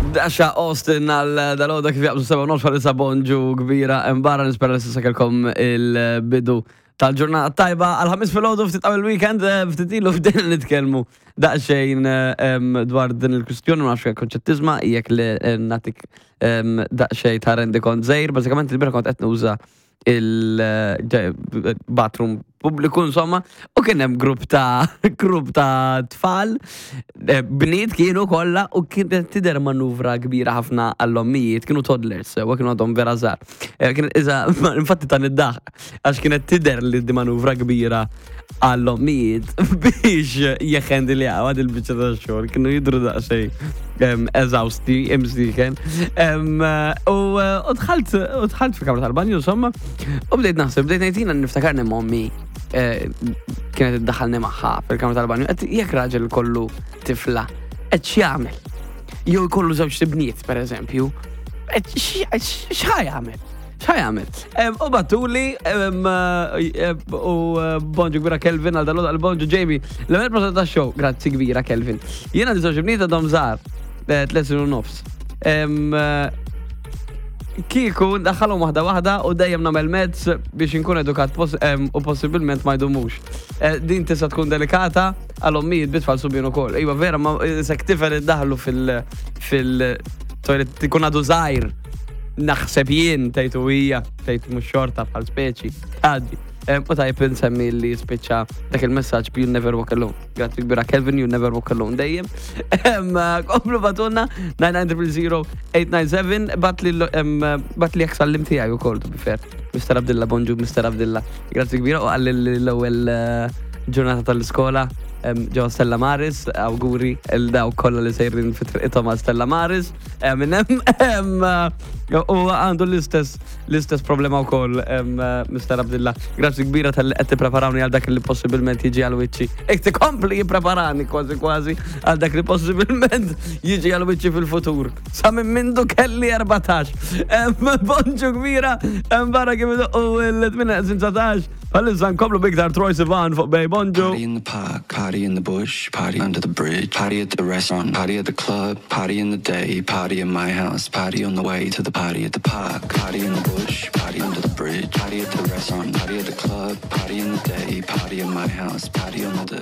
Dasha Austin għal dal-għoda kif jaqbżu 7:30 bħalissa. Bonġu kbira barra, nispera li s'issa kellkom il-bidu tal-ġurnata tajba għal Ħamis filgħodu, ftit qabel weekend. Ftit ilu bdejna nitkellmu daqsxejn dwar din il-kwistjoni, ma nafx jekk tisma', jekk li nagħtik daqsxejn ta' rendikont żgħir. Bażikament il-bieraħ kont qed nuża il-bathroom pubbliku insomma u kien hemm grupp ta' tfal, bniet kienu kollha, u kienet tidher manuvra kbira ħafna għall-ommijiet. Kienu toddlers u kienu għadhom vera żgħar. Kienet iża infatti ta' niddaħ għax kienet tidher li di manuvra kbira għall-ommijiet biex jeħendiljaw għad il-biċċa ta' xogħol, kienu jidru daqsxejn eżawsti imsiken. U dħalt fil-kamra tal-banju insomma u bdejt naħseb, bdejt ngħid jiena niftakarni mommi kienet iddaħħalni magħha fil-kamra tal-banju. Qed jekk raġel kollu tifla, qed x'jagħmel? Jew jkollu żewġ tibniet, per eżempju, qed x'ħa jagħmel? ċa jagħmel? U bagħtuli u bonġu kbira Kelvin għal dal għal bonġu Jamie. L-ewwel prosa ta' show, grazzi kbira Kelvin. Jiena di żewġ bniet għadhom żgħar, 3 snin u nofs. Kieku ndaħħalhom waħda waħda u dejjem nagħmel mezz biex inkun edukat u possibilment ma jdumux. Din tista' tkun delikata għal ommijiet bit-tfal subien ukoll. Iva vera, ma sek tifel iddaħlu fil-toilet tikun għadu żgħir. Naħseb jien tgħidu hija, tgħid mhux xorta bħal speċi. Għaddi. U tajb insemmi li spiċċa dak il-messaġġ "You'll never walk alone". Grazzi kbira Kelvin, you'll never walk alone dejjem. Komplu bagħtulna 990 897, bagħatli jekk sallim tiegħi ukoll, to be fair. Mr. Abdilla, bonġu Mr. Abdilla. Grazzi kbira u għalli l-ewwel ġurnata tal-iskola ġewwa Stella Maris, awguri lil dawk kollha li sejrin fi triqithom għal Stella Maris. Minn hemm u għandu l-istess problema wkoll Mr. Abdilla. Grazzi kbira tal qed tippreparawni għal dak li possibilment jiġi għal wiċċi. Ek tikompli jippreparani kważi kważi għal dak li possibilment jiġi għal wiċċi fil-futur. Sa minn mindu kelli 14. Bonġu kbira, barra kif u l-8 Bħalissa nkomplu b'iktar Troye Sivan fuq Bay. Bonġu. Party in the park, party in the bush, party under the bridge, party at the restaurant, party at the club, party in the day, party in my house, party on the way to the party at the park, party in the bush, party under the bridge, party at the restaurant, party at the club, party in the day, party in my house, party on the